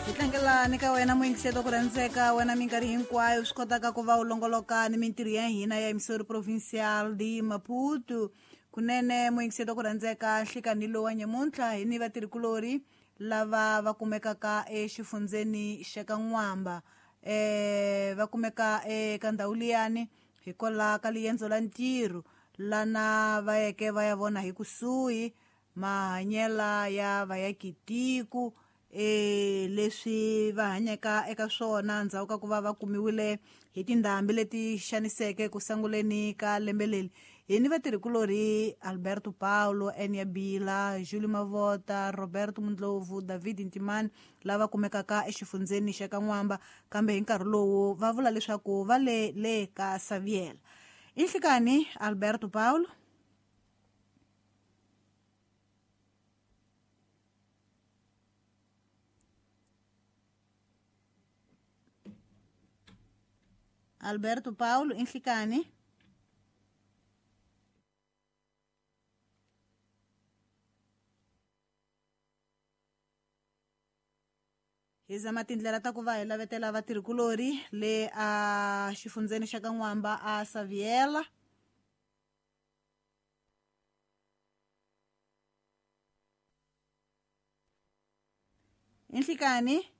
Hi tlangela ni ka wena muyingiseti ku rhandzeka wena minkarhi hinkwayo swi kotaka ku va u longoloka ni mintirho ya hina ya emisori provincial de Maputo. Kunene muyingiseti ku rhandzeka nhlikani lowa nyamuntlha hi ni vatirhikulori lava va kumekaka exifundzeni xa ka N'wamba. Va kumeka eka ndhawu liyani hikwalaho ka liendzo la ntirho lana va yeke va ya vona hi kusuhi mahanyela ya vayakitiko leswi va hanyaka eka swona ndzhaku ka ku va va kumiwile hi tindhambi leti xaniseke ku sanguleni ka lembe leri. Hi ni vatirhikulorhi Alberto Paulo, Enia Bila, Julio Mavota, Roberto Mundlovu, David Ntimani lava kumekaka exifundzeni xa ka N'wamba, kambe hi nkarhi lowu va vula leswaku va le le ka Saviela. I nhlikani Alberto Paulo. Alberto Paulo i nhlikani. Hi zama tindlela ta ku va hi lavetela vatirhikulori le a xifundzeni xa ka N'wamba a Saviela. I nhlikani.